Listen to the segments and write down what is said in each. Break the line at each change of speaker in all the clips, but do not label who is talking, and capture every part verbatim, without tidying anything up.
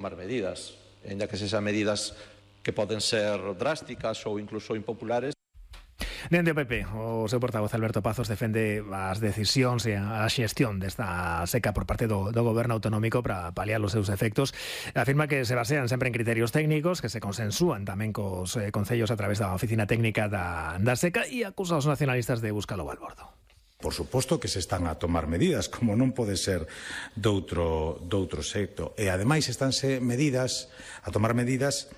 tomar medidas, ainda que sexan medidas que poden ser drásticas ou incluso impopulares.
Dende o P P, o seu portavoz Alberto Pazos defende as decisións e a xestión desta seca por parte do, do goberno autonómico para paliar os seus efectos. Afirma que se basean sempre en criterios técnicos, que se consensúan tamén cos eh, concellos a través da oficina técnica da, da seca, e acusa os nacionalistas de buscalo ao balbordo.
Por suposto que se están a tomar medidas, como non pode ser doutro, doutro xeito. E, ademais, estánse medidas, a tomar medidas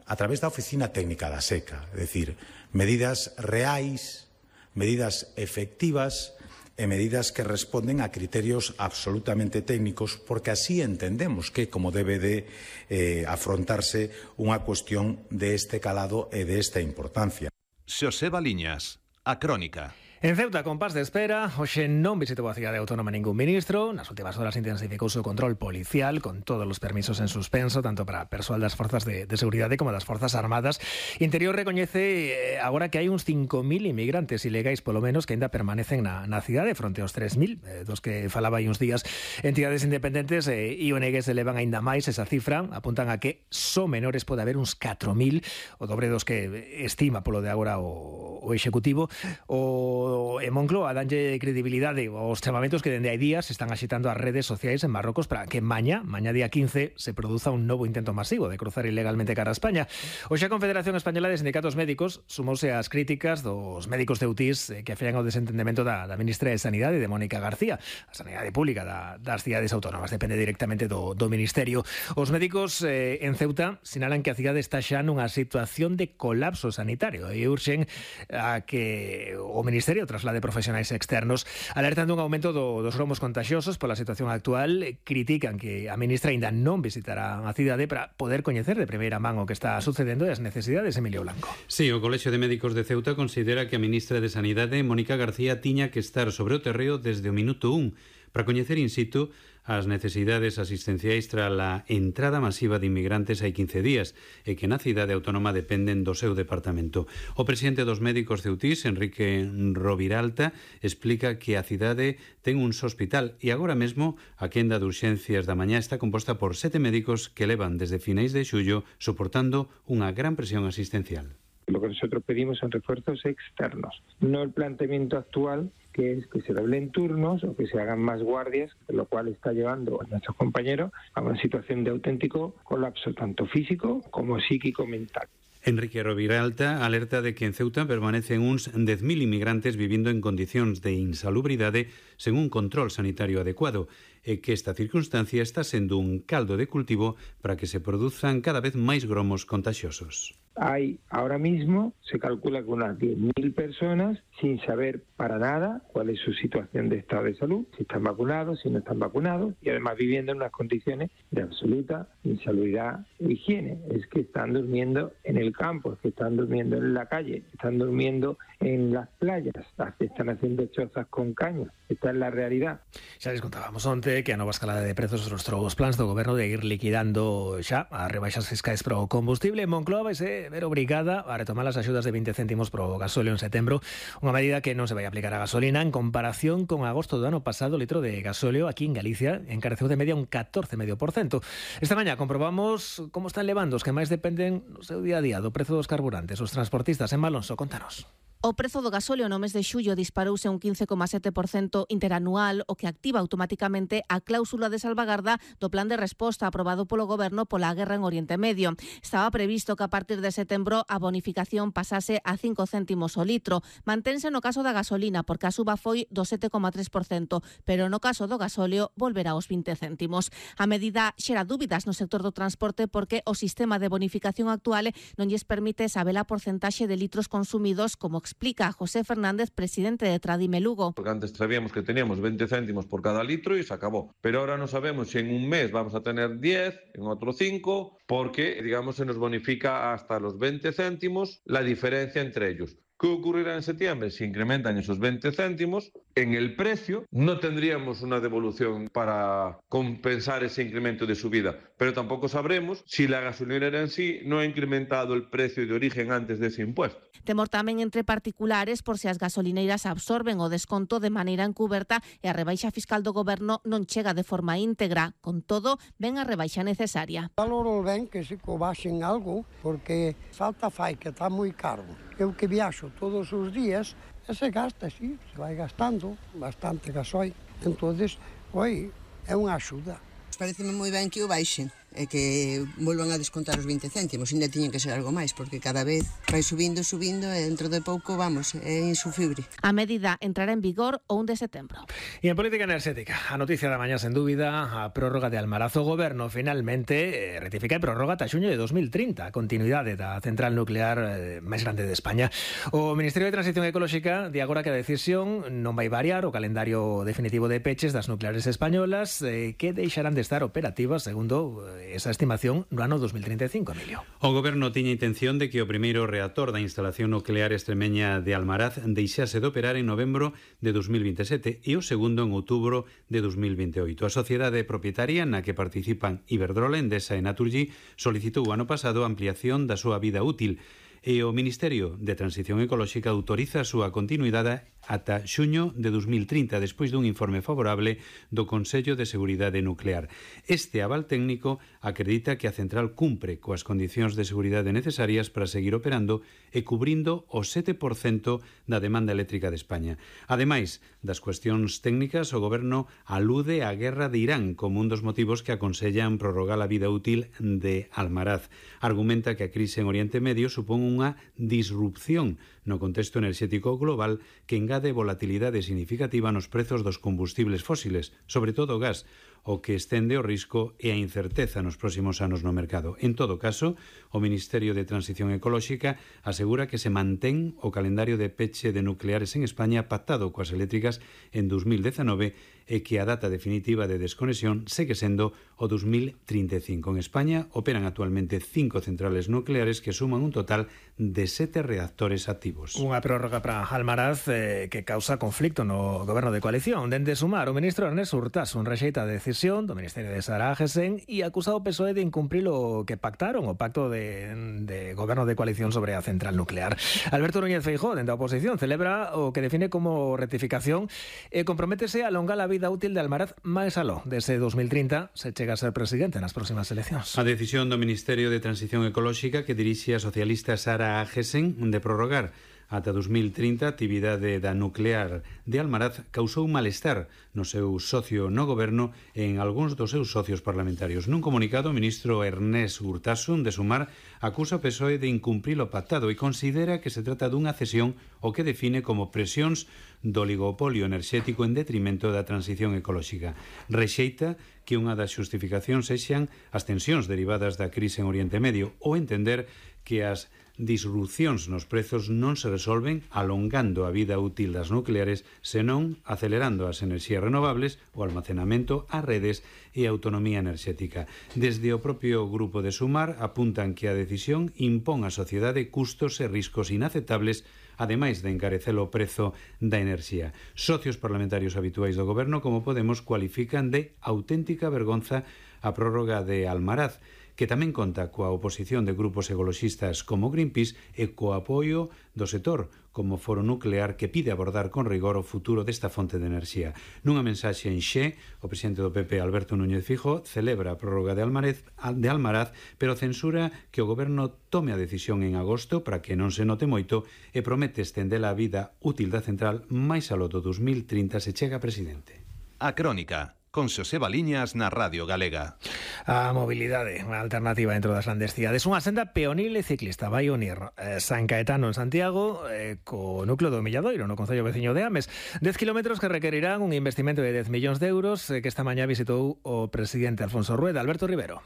a través da oficina técnica da seca. É dicir, medidas reais, medidas efectivas e medidas que responden a criterios absolutamente técnicos, porque así entendemos que como debe de eh, afrontarse unha cuestión de este calado e de esta importancia.
Xoseba Liñas, A Crónica.
En Ceuta, con pas de espera, hoxe non visitou a cidade autónoma ningún ministro. Nas últimas horas intensificouse o control policial con todos os permisos en suspenso, tanto para persoal das forzas de, de seguridade como das forzas armadas. Interior recoñece eh, agora que hai uns cinco mil inmigrantes ilegais, polo menos, que ainda permanecen na, na cidade, fronte aos tres mil, eh, dos que falaba hai uns días. Entidades independentes eh, e O N Gs elevan ainda máis esa cifra, apuntan a que só menores pode haber uns catro mil, o dobre dos que estima polo de agora o, o Executivo. O E Moncloa danlle credibilidade aos chamamentos que dende hai días están axitando as redes sociais en Marrocos para que maña, maña día quince, se produza un novo intento masivo de cruzar ilegalmente cara a España. Hoxe a Confederación Española de Sindicatos Médicos sumouse ás críticas dos médicos ceutís que afean ao desentendemento da, da ministra de Sanidade, de Mónica García. A Sanidade Pública da, das cidades autónomas depende directamente do, do Ministerio. Os médicos eh, en Ceuta sinalan que a cidade está xa nunha situación de colapso sanitario e urxen a que o Ministerio traslade profesionais externos, alertando un aumento do, dos gromos contagiosos pola situación actual. Critican que a ministra ainda non visitará a cidade para poder coñecer de primeira man o que está sucedendo e as necesidades. Emilio Blanco.
Sí, o Colexio de Médicos de Ceuta considera que a ministra de Sanidade, Mónica García, tiña que estar sobre o terreo desde o minuto un para coñecer in situ as necesidades asistenciais tras a entrada masiva de inmigrantes hai quince días e que na cidade autónoma dependen do seu departamento. O presidente dos médicos ceutís, Enrique Roviralta, explica que a cidade ten un hospital e agora mesmo a quenda de urxencias da mañá está composta por sete médicos que levan desde finais de xullo soportando unha gran presión asistencial.
Lo que nosotros pedimos son refuerzos externos, no el planteamiento actual, que es que se doblen turnos o que se hagan más guardias, lo cual está llevando a nuestros compañeros a una situación de auténtico colapso, tanto físico como psíquico-mental.
Enrique Roviralta alerta de que en Ceuta permanecen uns dez mil inmigrantes vivindo en condicións de insalubridade sen un control sanitario adecuado e que esta circunstancia está sendo un caldo de cultivo para que se produzan cada vez máis gromos contagiosos.
Hay ahora mismo, se calcula que unas diez mil personas sin saber para nada cuál es su situación de estado de salud, si están vacunados, si no están vacunados, y además viviendo en unas condiciones de absoluta insalubridad e higiene. Es que están durmiendo en el campo, es que están durmiendo en la calle, están durmiendo en las playas, están haciendo chozas con cañas. Esta es la realidad.
Xa les contábamos onte que a nova escalada de prezos rostrou os plans do goberno de ir liquidando xa as rebaixas fiscais pro combustible. Moncloa vai ser ver obrigada a retomar as axudas de vinte céntimos pro gasóleo en setembro, unha medida que non se vai aplicar a gasolina. En comparación con agosto do ano pasado, o litro de gasóleo aquí en Galicia encareceu de media un catorce coma cinco por cento. Esta mañá comprobamos como están levando os que máis dependen no seu día a día do prezo dos carburantes. Os transportistas. En Malonso, contanos.
O prezo do gasóleo no mes de xullo disparouse un quince coma sete por cento interanual, o que activa automáticamente a cláusula de salvagarda do plan de resposta aprobado polo goberno pola guerra en Oriente Medio. Estaba previsto que a partir de setembro a bonificación pasase a cinco céntimos o litro. Mantense no caso da gasolina, porque a suba foi do sete coma tres por cento, pero no caso do gasóleo volverá aos vinte céntimos. A medida xera dúbidas no sector do transporte porque o sistema de bonificación actual non lles permite saber a porcentaxe de litros consumidos, como explica José Fernández, presidente de Tradime Lugo.
Porque antes sabíamos que teníamos veinte céntimos por cada litro y se acabó. Pero ahora no sabemos si en un mes vamos a tener diez, en otro cinco, porque, digamos, se nos bonifica hasta los veinte céntimos la diferencia entre ellos. ¿Qué ocurrirá en septiembre? Si incrementan esos veinte céntimos, en el precio, no tendríamos una devolución para compensar ese incremento de subida, pero tampoco sabremos si la gasolinera en sí no ha incrementado el precio de origen antes de ese impuesto.
Temor tamén entre particulares por se as gasolineiras absorben o desconto de maneira encuberta e a rebaixa fiscal do goberno non chega de forma íntegra. Con todo, ven a rebaixa necesaria.
Valoro ben que se cobaxen algo, porque falta fai que está moi caro. Eu que viaxo todos os días, e se gasta, sí, se vai gastando bastante gasoil. Entonces, oi, é unha axuda.
Pareceme moi ben que o baixen e que volvan a descontar os vinte céntimos. Ainda tiñen que ser algo máis, porque cada vez vai subindo, subindo e dentro de pouco, vamos, é insufrible.
A medida entrará en vigor o un de setembro.
E en política enerxética, a noticia da mañá sen dúbida, a prórroga de Almaraz. O goberno finalmente eh, ratifica e prórroga ata xuño de dos mil trinta, a continuidade da central nuclear eh, máis grande de España. O Ministerio de Transición Ecolóxica di agora que a decisión non vai variar o calendario definitivo de peches das nucleares españolas eh, que deixarán de estar operativas, segundo eh, esa estimación, no ano dos mil trinta e cinco, Emilio.
O goberno tiña intención de que o primeiro reactor da instalación nuclear extremeña de Almaraz deixase de operar en novembro de dos mil vinte e sete e o segundo en outubro de dos mil vinte e oito. A sociedade propietaria na que participan Iberdrola, Endesa e Naturgy solicitou o ano pasado a ampliación da súa vida útil e o Ministerio de Transición Ecolóxica autoriza a súa continuidade ata xuño de dos mil trinta, despois dun informe favorable do Consello de Seguridade Nuclear. Este aval técnico acredita que a central cumpre coas condicións de seguridade necesarias para seguir operando e cubrindo o sete por cento da demanda eléctrica de España. Ademais das cuestións técnicas, o goberno alude á guerra de Irán como un dos motivos que aconsellan prorrogar a vida útil de Almaraz. Argumenta que a crise en Oriente Medio supón unha disrupción no contexto enerxético global que engade volatilidade significativa nos prezos dos combustibles fósiles, sobre todo o gas, o que estende o risco e a incerteza nos próximos anos no mercado. En todo caso, o Ministerio de Transición Ecolóxica asegura que se mantén o calendario de peche de nucleares en España pactado coas eléctricas en dos mil dezenove e que a data definitiva de desconexión segue sendo o dos mil trinta e cinco. En España operan actualmente cinco centrales nucleares que suman un total de sete reactores activos.
Unha prórroga para Almaraz eh, que causa conflicto no goberno de coalición. Dende Sumar, o ministro Ernest Urtasun rexeita a decisión do Ministerio de Sara Agesen e acusa o P S O E de incumprir o que pactaron, o pacto de, de goberno de coalición sobre a central nuclear. Alberto Núñez Feijóo, dende a oposición, celebra o que define como rectificación e comprométese a alongar a vida útil de Almaraz máis aló. Desde dos mil trinta se chega a ser presidente nas próximas eleccións.
A decisión do Ministerio de Transición Ecolóxica que dirixe a socialista Sara Agesen de prorrogar ata dos mil trinta a actividade da nuclear de Almaraz causou malestar no seu socio no goberno e en algúns dos seus socios parlamentarios. Nun comunicado, o ministro Ernest Urtasun de Sumar acusa o P S O E de incumprir o pactado e considera que se trata dunha cesión o que define como presións do oligopolio enerxético en detrimento da transición ecolóxica. Rexeita que unha das xustificacións sexan as tensións derivadas da crise en Oriente Medio ou entender que as disrupcións nos prezos non se resolven alongando a vida útil das nucleares, senón acelerando as enerxías renovables, o almacenamento, as redes e a autonomía enerxética. Desde o propio grupo de Sumar apuntan que a decisión impón á sociedade custos e riscos inaceptables, ademais de encarecer o prezo da enerxía. Socios parlamentarios habituais do goberno, como Podemos, cualifican de auténtica vergonza a prórroga de Almaraz, que tamén conta coa oposición de grupos ecoloxistas como Greenpeace e co apoio do sector como Foro Nuclear, que pide abordar con rigor o futuro desta fonte de enerxía. Nunha mensaxe en Xe, o presidente do P P, Alberto Núñez Feijóo, celebra a prórroga de Almaraz, de Almaraz, pero censura que o goberno tome a decisión en agosto para que non se note moito e promete estender a vida útil da central máis aló do dos mil trinta se chega presidente.
A Crónica, con Xoseba Liñas na Radio Galega.
A mobilidade, unha alternativa dentro das grandes cidades. Unha senda peonil e ciclista vai unir eh, San Caetano en Santiago eh, co núcleo do Milladoiro, no concello veciño de Ames. dez kilómetros que requerirán un investimento de dez millóns de euros eh, que esta mañá visitou o presidente Alfonso Rueda. Alberto Rivero.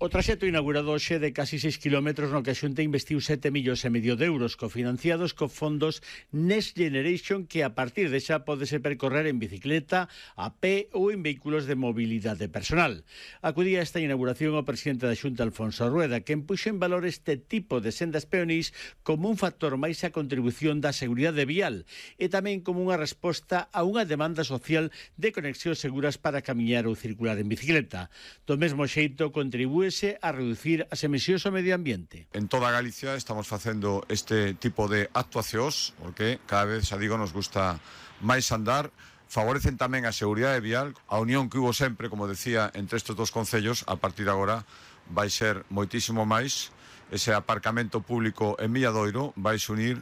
O traxecto inaugurado hoxe de casi seis kilómetros no que a Xunta investiu sete millóns e medio de euros cofinanciados co fondos Next Generation, que a partir de xa podese percorrer en bicicleta, a pé ou en vehículos de mobilidade personal. Acudía a esta inauguración o presidente da Xunta, Alfonso Rueda, que empuxo en valor este tipo de sendas peonís como un factor máis a contribución da seguridade vial e tamén como unha resposta a unha demanda social de conexións seguras para camiñar ou circular en bicicleta. Do mesmo xeito contribúe a reducir as emisións ao medio ambiente.
En toda Galicia estamos facendo este tipo de actuacións porque cada vez, xa digo, nos gusta máis andar, favorecen tamén a seguridade vial, a unión que hubo sempre, como decía, entre estes dos concellos, a partir de agora vai ser moitísimo máis. Ese aparcamento público en Milladoiro vai se unir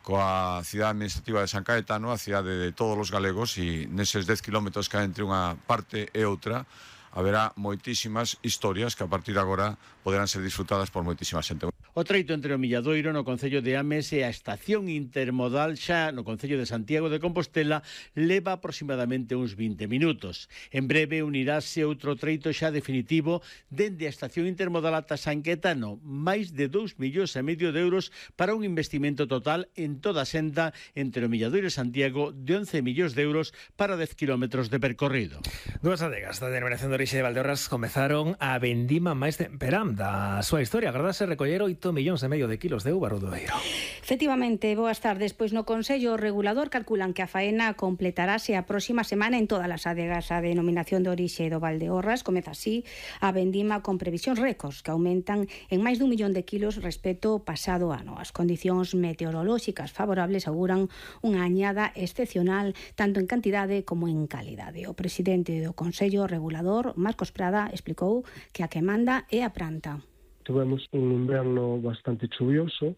coa cidade administrativa de San Caetano, a cidade de todos os galegos, e neses dez kilómetros que hai entre unha parte e outra haberá moitísimas historias que a partir de agora poderán ser disfrutadas por moitísima xente.
O treito entre o Milladoiro no concello de Ames e a estación intermodal xa no concello de Santiago de Compostela leva aproximadamente uns vinte minutos. En breve unirase outro treito xa definitivo dende a estación intermodal ata San Caetano, máis de dous millóns e medio de euros para un investimento total en toda a senda entre o Milladoiro e Santiago de once millóns de euros para dez kilómetros de percorrido.
Dúas adegas da denominación de orixe de Valdeorras comezaron a vendima máis temperán da súa historia. Agardase recoller oito millóns e medio de kilos de uva, Rodoeiro.
Efectivamente, boas tardes. Pois no Consello Regulador calculan que a faena completarase a próxima semana en todas as adegas. A denominación de orixe do Valdeorras comeza así a vendima con previsións récords que aumentan en máis dun millón de kilos respecto ao pasado ano. As condicións meteorolóxicas favorables auguran unha añada excepcional tanto en cantidade como en calidade. O presidente do Consello Regulador, Marcos Prada, explicou que a que manda é a planta.
Tuvemos un inverno bastante chuvioso,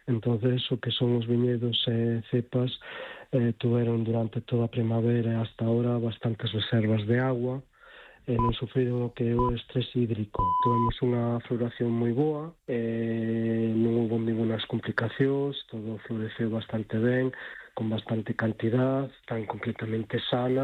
entonces o que son os viñedos e cepas eh, tuveron durante toda a primavera e hasta ahora bastantes reservas de agua e non sufriron o que é o estrés hídrico. Tuvemos unha floración moi boa, e non houve ningunas complicacións, todo floreceu bastante ben, con bastante cantidad, tan completamente sana.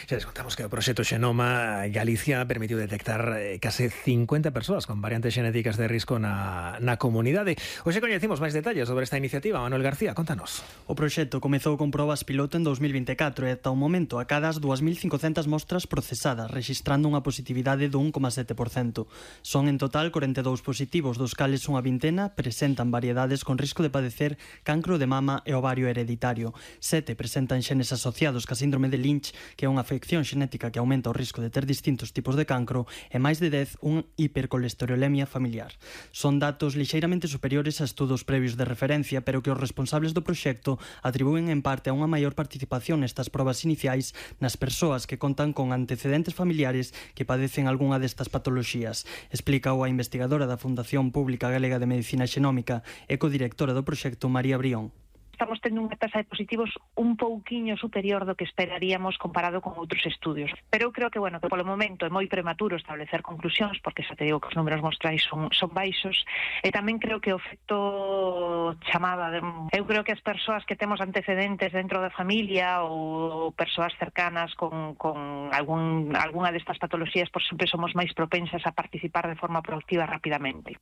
Xa les contamos que o proxecto Xenoma Galicia permitiu detectar eh, case cincuenta persoas con variantes xenéticas de risco na, na comunidade. Hoxe coñecimos máis detalles sobre esta iniciativa. Manuel García, contanos.
O proxecto comezou con probas piloto en dos mil vinte e catro e ata o momento acadas dúas mil cincocentas mostras procesadas, rexistrando unha positividade do un coma sete por cento. Son en total corenta e dous positivos, dos cales unha vintena presentan variedades con risco de padecer cancro de mama e ovario hereditario. Sete presentan xenes asociados ca síndrome de Lynch, que é unha afección xenética que aumenta o risco de ter distintos tipos de cancro, e máis de dez un hipercolesterolemia familiar. Son datos lixeiramente superiores a estudos previos de referencia, pero que os responsables do proxecto atribúen en parte a unha maior participación nestas probas iniciais nas persoas que contan con antecedentes familiares que padecen algunha destas patoloxías, explica a investigadora da Fundación Pública Galega de Medicina Xenómica e codirectora do proxecto, María Brión.
Estamos tendo unha tasa de positivos un pouquiño superior do que esperaríamos comparado con outros estudios. Pero eu creo que, bueno, que polo momento é moi prematuro establecer conclusións, porque xa te digo que os números mostrais son, son baixos, e tamén creo que o efecto chamada, de, eu creo que as persoas que temos antecedentes dentro da familia ou persoas cercanas con, con algún, algunha destas patoloxías, por sempre somos máis propensas a participar de forma proactiva rapidamente.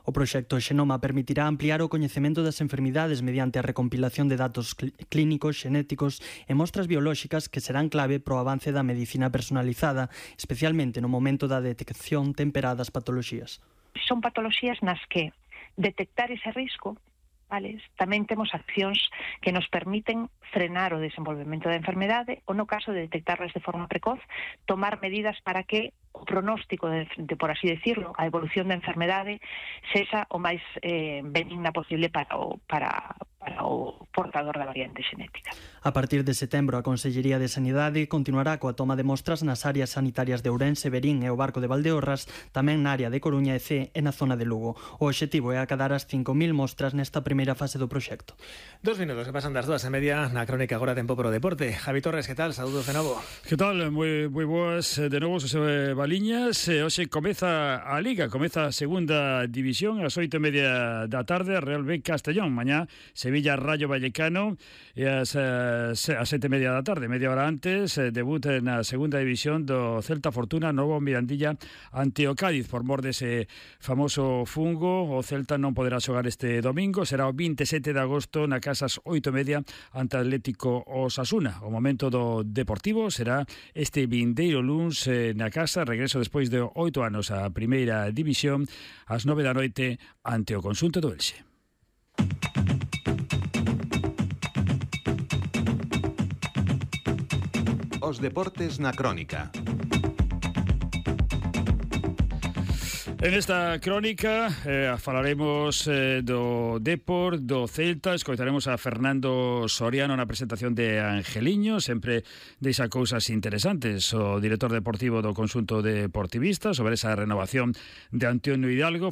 O proxecto Xenoma permitirá ampliar o coñecemento das enfermidades mediante a recompilación de datos clínicos, xenéticos e mostras biolóxicas que serán clave pro avance da medicina personalizada, especialmente no momento da detección temperada das patoloxías.
Son patoloxías nas que detectar ese risco, vale, tamén temos accións que nos permiten frenar o desenvolvemento da enfermedade ou, no caso de detectarlas de forma precoz, tomar medidas para que o pronóstico, de, de por así decirlo, a evolución da enfermedade sexa o máis eh, benigna posible para o, para, para o portador da variante xenética.
A partir de setembro, a Consellería de Sanidade continuará coa toma de mostras nas áreas sanitarias de Ourense, Verín e o Barco de Valdeorras, tamén na área de Coruña e Cee e na zona de Lugo. O obxectivo é acadar as cinco mil mostras nesta primeira fase do proxecto.
Dos minutos que pasan das dúas e media na crónica agora tempo pro deporte. Javi Torres, que tal? Saúdos de novo.
Que tal? Moi, moi boas de novo, Xosé Baliñas. Hoxe comeza a Liga, comeza a segunda división ás oito e media da tarde, Real B Castellón. Mañá, Sevilla Rayo Vallecano. Vallecano e as, as sete e media da tarde, media hora antes, eh, debut na segunda división do Celta Fortuna, novo Mirandilla ante o Cádiz por mor dese famoso fungo. O Celta non poderá xogar este domingo, será o vinte e sete de agosto na casa ás oito e media ante Atlético Osasuna. O momento do Deportivo será este vindeiro luns eh, na casa, regreso despois de oito anos á primeira división, ás nove da noite ante o Conxunto do Elxe.
Os deportes na crónica.
En esta crónica eh, falaremos eh, do Depor, do Celta, escoitaremos a Fernando Soriano na presentación de Angeliño, sempre deixa cousas interesantes. O director deportivo do Conxunto Deportivista sobre esa renovación de Antonio Hidalgo.